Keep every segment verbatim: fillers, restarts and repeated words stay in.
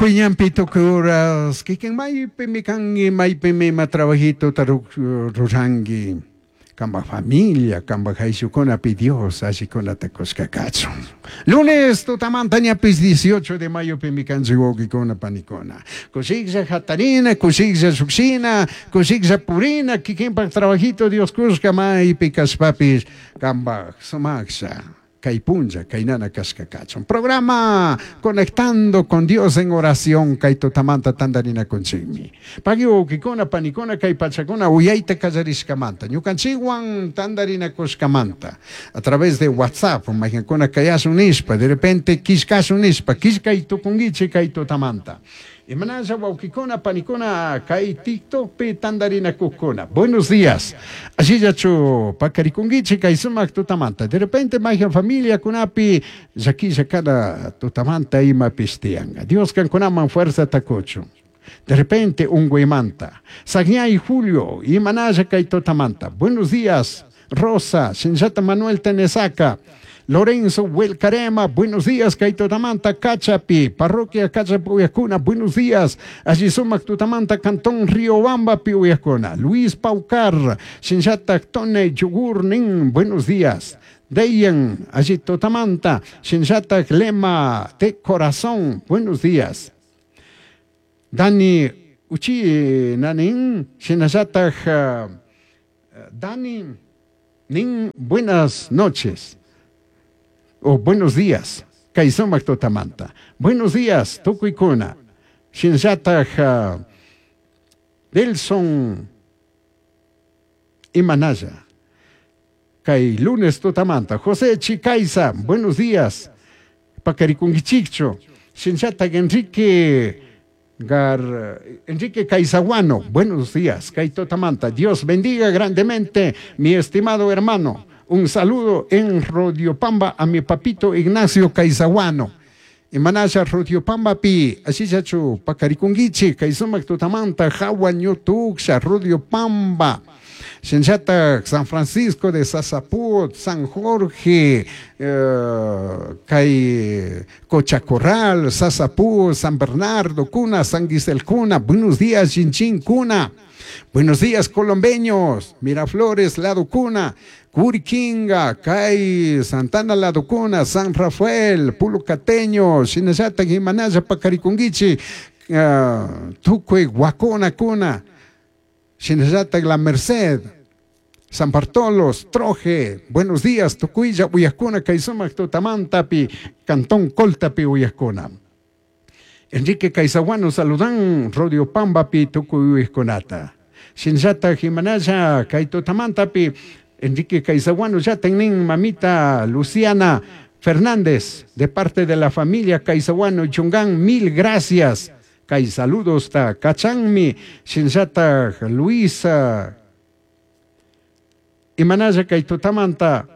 Tukuy ñanpi tukuy horas kikin maypimi kanki maypimi ima trabajituta ruranki kambaj familia kambaj ayllukunapi Dios allikunata kushka kachun. Lunes tutamanta ñapis dieciocho de mayopimi kanchik wawqikuna panikuna. Kushiklla hatarina, kushiklla llukshina, kushiklla purina, kikinpak trabajito Dios kushka maypi kashpapis kambaj sumaklla kay punlla kaynana kashka kachun. Programa Conectando con Dios en Oración kay tutamanta tantarinakunchikmi. Pagui wawqikuna panikuna kay pachakuna uyayta kallarishkamanta ñukanchikwan tantarinakushkamanta a través de WhatsApp mayqankuna kayashun nishpa de repente killkashun nishpa killkay tukunkichik kay tutamanta. Imanasha wawqikuna panikuna kay TikTokpi tantarinakukuna. Buenos días. Ashillachu pakarikunkichik kay sumak tutamanta. De repente mayqan familiakunapi llakilla kana tutamanta imapis tiyanqa. Dios kankunaman fuerzata kuchun. De repente unguymanta. Sagñay Julio, imanasha kay tutamanta. Buenos días, Rosa, Shinllata Manuel Tenesaca. Lorenzo Huelcarema, buenos días, kay tutamanta, Cachapi, parroquia Cachapi uyakuna, buenos días. Allí sumak tutamanta, Cantón Riobamba, pi uyakuna. Luis Paucar, Shinllata Tone Yugurnin, buenos días. Deyan, allí tutamanta, Shinllata Lema de Corazón, buenos días. Dani Uchi Nanin, Shinllata Dani Nin, buenas noches. O buenos días, kay sumak tutamanta. Buenos días, tukuykuna. Shinllataj uh, Delson Imanaya. Kay lunes tutamanta. José Chicaiza, buenos días. Pacarikungichicho. Shinllataj Enrique Gar, Enrique Caizaguano, buenos días. Kay tutamanta. Dios bendiga grandemente, mi estimado hermano. Un saludo en Rodiopamba a mi papito Ignacio Caizaguano. Imanasha Rodiopamba pi, ashichachu pacarikungichi, Kaisumak tutamanta, Jawa ñutuksha, Rodiopamba. Shinchata San Francisco de Sasaput, San Jorge, eh, Kay Cochacorral, Sasaput, San Bernardo, Cuna, San Gisel Cuna, buenos días, Chinchin Cuna. Buenos días, colombeños, Miraflores, Lado Cuna, Curiquinga, Cay, Santana Lado Cuna, San Rafael, Pulucateño, Shinasata, Jimanaya, Pacarikunguichi, uh, Tucue, Huacona, Cuna, Shinasata, La Merced, San Bartolos, Troje, buenos días, Tucuilla, Uyascuna, Caizumac, Tutamantapi, Cantón Coltapi, Uyascuna. Enrique Caizaguano, saludan, Rodio Pambapi, Tucuy, Uyascunata. Shinllata, Jimanaya, Kaitotamantapi, Enrique Caizaguano, ya tenin mamita Luciana Fernández, de parte de la familia Caizaguano Chungán, mil gracias. Kay saludos ta Cachanmi, Shinllata Luisa, Imanaya Kaitotamanta,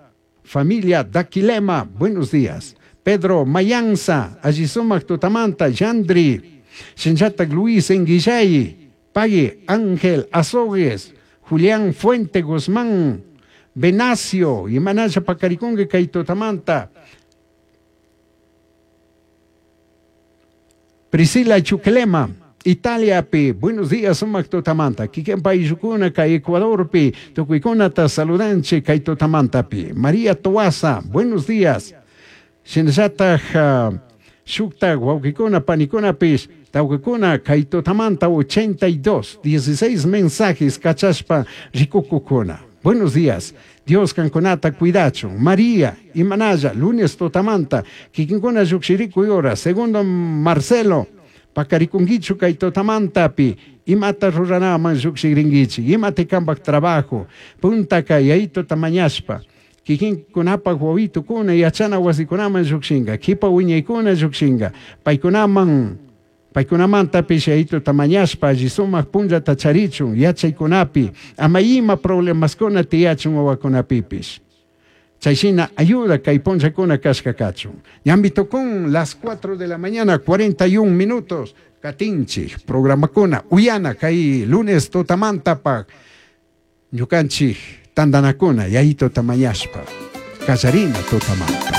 familia Daquilema, buenos días. Pedro Mayanza, Allisumac Tutamanta, Yandri, Shinllata Luis Enguillay, Pague, Ángel Azogues, Julián Fuente Guzmán, Venacio, Imanaya Pacaricongue, Kaitotamanta, Priscila Chuquelema, Italia pi, buenos días, sumak tutamanta, kiken paisukuna, kay Ecuador pi, tukuykuna ta saludanche, kay tutamanta pi, María Toaza, buenos días, Shinllataj uh, shukta wawqikuna panikuna pis, tawqikuna kay tutamanta ochenta y dos, dieciséis mensajes kachashpa rikukukuna. Buenos días. Dios kankunata cuidachun. María, Imanaya, lunes tutamanta, kikinkuna llukshiriku yora, segundo Marcelo, pakarikunkichu kay tutamantapi, imata ruranaman llukshigrinkichik, imata kambak trabajo, punta kay ayito tamañashpa, kikinkunapaq wawitukuna yachana wasikunaman llukshinka, kipa wiñaykuna llukshinka, paykunaman paykunamantapish ayito tamañashpa alli sumak punllata charichun yachaykunapi, ama ima problemaskuna tiyachun wawakunapipish. Chayshina ayuda kay punllakuna kashka kachun. Ñambi tukun las cuatro de la mañana, cuarenta y un minutos, katinchik, programakuna, uyana kay lunes tutamantapaq, ñukanchik tandanakuna, yayito tamañashpa, kallarina tutamanta.